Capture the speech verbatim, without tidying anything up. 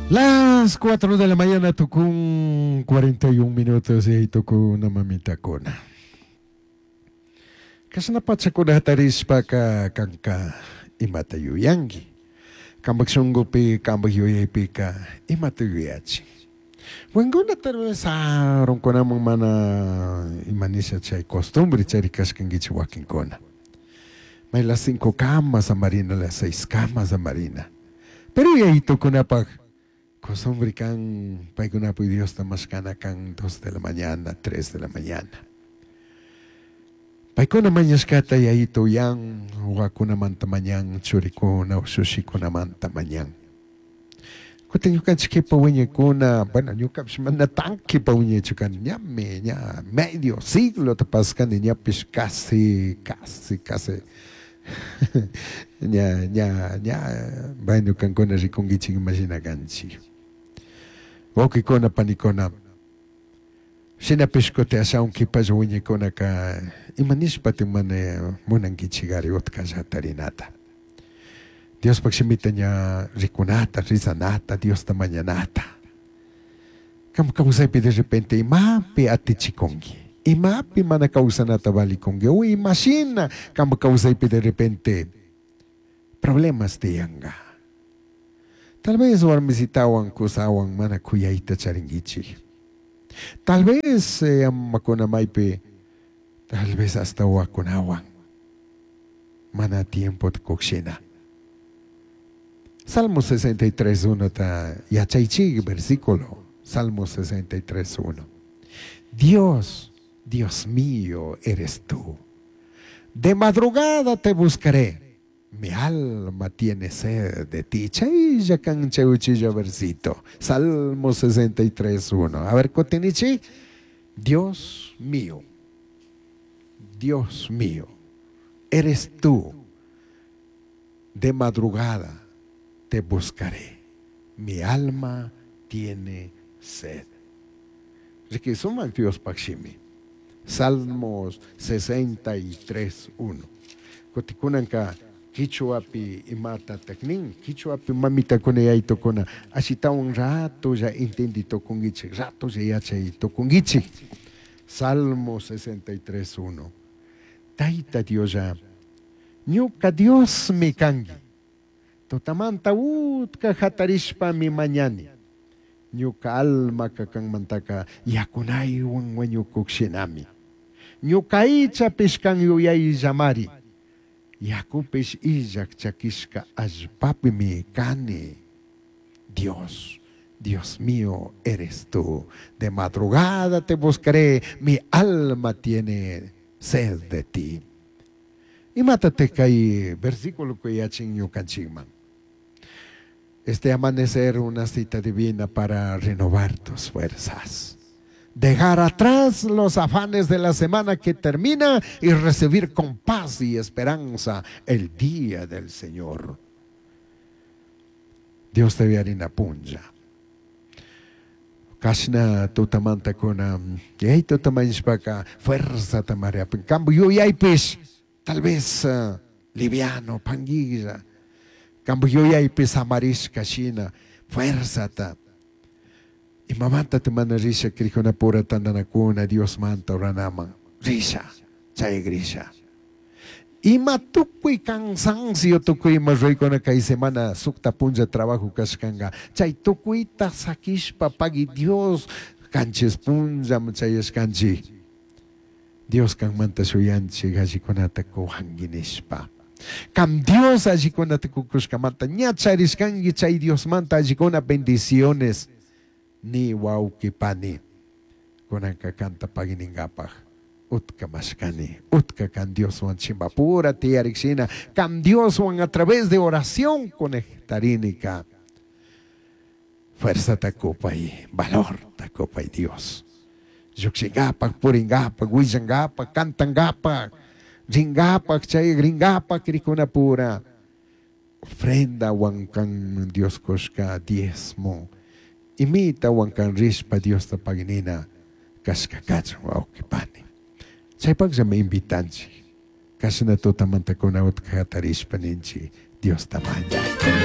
Las cuatro de la mañana tucun cuarenta y un minutos y ahí tocó una mamita cona. Kashna pachakuna hatarishpaka kanka imata yuyanki. Kampak shunkupi, kampak yuyaypika imata yuyachin. Wankuna tal vez sarunkunaman mana imanisha chay costumbre charikashkankichik wakinkuna. May las cinco kama samarina, las seis kama samarina. Pero yayitukunapak costumbre kan, paykunapak Diosta mashkana kan dos de la mañana, tres de la mañana. Paykuna mañashkata yayito uyan, wawakunamanta mañan, churikuna, ushushikunamanta mañan. Kutin ñukanchik kipa wiñaykuna, bueno, ñukapish mana tan kipa wiñaychu kani, ñami ña medio siglo pascani ñapish casi, casi, casi. Ña, ña, ña, bueno, kankuna rikunkichik imashina kanchik. Wawqikuna, panikuna, shinapish kutin ashawan kipalla wiñaykunaka imanishpati mana munankichikari utkalla tarinata. Diospak shimita ña rikunata, rizanata, Diosta mañanata. Kam kawsaypi de repente imapi atichikunki, imapi mana kawsanata valikunki, o imashina kam kawsaypi de repente problemas tiyanka. Tal vez warmisitawan, kusawan mana kuyayta charinkichik. Tal vez eh, amakuna maypi, tal vez hasta wawakunawan mana tiempo kukshina. Salmo sesenta y tres uno ta yachaychik versículo. Salmo sesenta y tres uno. Dios, Dios mío eres tú. De madrugada te buscaré. Mi alma tiene sed de ti. Chaylla kan chay uchilla versito. Salmo sesenta y tres uno. A ver, kutinichi. Dios mío, Dios mío, eres tú. De madrugada te buscaré. Mi alma tiene sed. Riki sumak Diospaj shimi. Salmos sesenta y tres uno. Kutikunanka kichwapi imata nin, kichwapi mamitakuna yaytukuna ashitawan ratolla entendi tukunkichik, ratolla yachay tukunkichik. Salmo sesenta y tres uno. Taita Dioslla, ñuka Diosmi kanki. Tutamanta utka hatarishpami mañani. Ñuka almaka kanmantaka yakunaywan wañukuk shinami. Ñuka aychapish kan yuyayllamari. Yakupish illak chakishka allpapimi kani. Dios, Dios mío eres tú. De madrugada te buscaré, mi alma tiene sed de ti. Imatate kay versículo yachin ñukanchikman. Este amanecer, una cita divina para renovar tus fuerzas. Dejar atrás los afanes de la semana que termina y recibir con paz y esperanza el día del Señor. Dios te harina punlla. Kashna tutamanta kuna, yay tutamanishpaka fuerza tamaria. Cambio yuyaypish, tal vez uh, liviano, panguilla. Cambio yuyaypish samarishka shina, fuerza ta. Imamanta te mana risha pura tandanakuna Diosmanta oranaman. Risha, chay grisha. Ima tukuy cansancio, tukuy ima ruraykuna kay semana sukta punlla trabajo kashkanga. Chay tukuyta sakishpa pagui Dios kanchis punlla chayashkanchik. Dios kanmanta shuyanchik allikunata kuwanki nishpa. Kam Dios allikunata kukushkamanta ña charishkanki chay Diosmanta allikuna bendiciones ni wawki pani. Kunanka kanta paginingapaj. Utka mashkani, utka kan Dioswan chimbapura tiyarikshina, kan Dioswan a través de oración conectarinika. Fuerza takupay, valor takupay, Dios. Llukshingapak, puringapak, willangapak, cantangapak, ringapak, chay ringapak, krikuna pura. Ofrenda wankan Dios kushka diezmo. Imita wankan rishpa Diosta paginina kashka kachun wawqi pani. Chaypaqlla me invitanchik. Kashna tutamanta utka hatarishpa ninchik Diosta mañay.